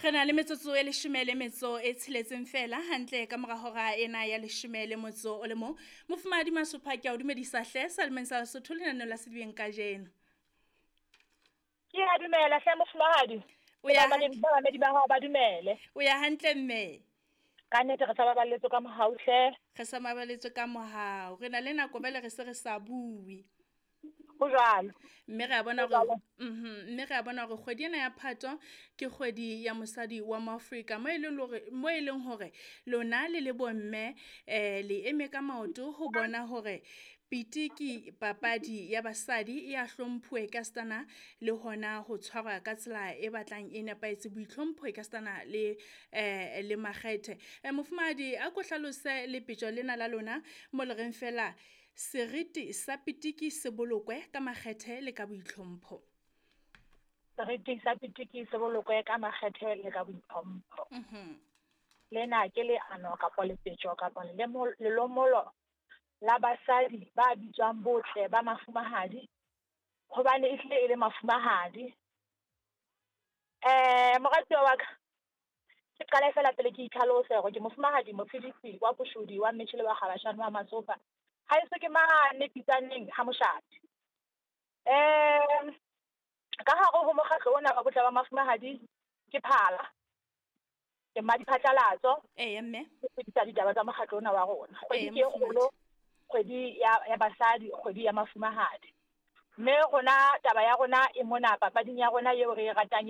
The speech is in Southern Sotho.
Re na le metsotso e leshome le metso e tsheletseng fela hantle ka mora hora ena ya leshome le motso o le mong. Mofumahadi Masopha, ke a o dumedisa hle Salemeng sa Lesotho lenaneo la Sedibeng kajeno. Ke a dumela hle mofumahadi. O ya Bamamedi ba hao ba dumele. O ya hantle mme. Ka nnete re sa baballetswe ka mohau hle. Re sa baballetswe ka mohau. Re na le nako bele re se re sa bue. Ho jwalo. Mme re a bona hore mme re a bona hore kgwedi ena ya Phato ke kgwedi ya mosadi wa Moafrika mo e leng hore mo e leng hore lona le le bomme le eme ka maoto ho bona hore pitiki papadi ya basadi e a hlomphuwe ka stana le hona ho tshwarwa ka tsela e batlang e nepahetse, boitlhompho e ka stana le le makgethe. Mofumahadi, a ko hlalose lepetjo lena la lona mo le reng fela seriti sa pitiki se bolokwe ka makgethe le ka boitlhompho. Seriti sa pitiki se bolokwe ka makgethe le ka boitlhompho. Lena ke leano kapa lepetjo kapa lelomolo la basadi ba bitswang botle ba mafumahadi, hobane ehlile e le mafumahadi. Moratuwa wa ka, ke qale fela pele ke itlhalose hore ke mofumahadi Mofidisi wa Koshodi wa Mmetjhele wa Kgabashane wa Masopa. Haeso ke mane Pitsaneng ha Moshate. Ka hare ho mokgatlo ona wa botle ba mafumahadi ke phala. Ke mmadiphatlalatso. Eya mme. Ke fetisa ditaba tsa mokgatlo ona wa rona. Kgwedi ke e kgolo, kgwedi ya basadi, kgwedi ya mafumahadi. Mme rona taba ya rona e mona papading ya rona eo re e ratang.